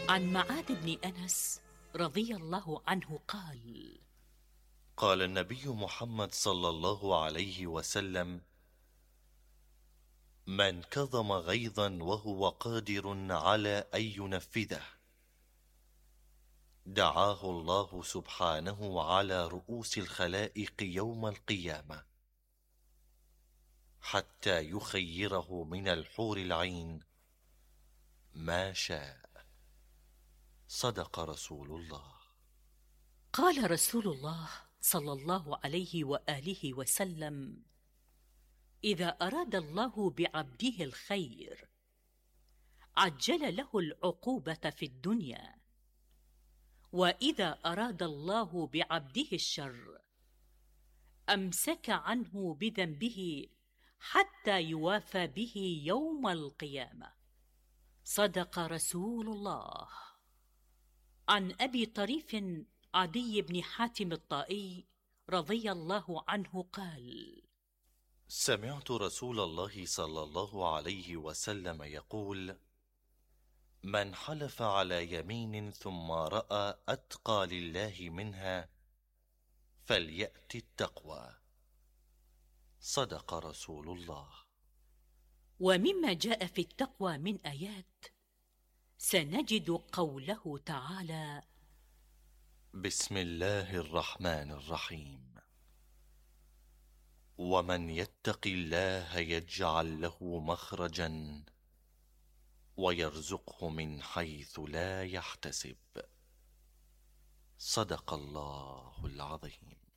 عن معاذ بن أنس رضي الله عنه قال: قال النبي محمد صلى الله عليه وسلم: من كظم غيظا وهو قادر على أن ينفذه دعاه الله سبحانه على رؤوس الخلائق يوم القيامة حتى يخيره من الحور العين ما شاء. صدق رسول الله. قال رسول الله صلى الله عليه وآله وسلم: إذا أراد الله بعبده الخير عجل له العقوبة في الدنيا، وإذا أراد الله بعبده الشر أمسك عنه بذنبه حتى يوافى به يوم القيامة. صدق رسول الله. عن أبي طريف عدي بن حاتم الطائي رضي الله عنه قال: سمعت رسول الله صلى الله عليه وسلم يقول: من حلف على يمين ثم رأى أتقى لله منها فليأت التقوى. صدق رسول الله. ومما جاء في التقوى من آيات سنجد قوله تعالى: بسم الله الرحمن الرحيم. ومن يتق الله يجعل له مخرجا ويرزقه من حيث لا يحتسب. صدق الله العظيم.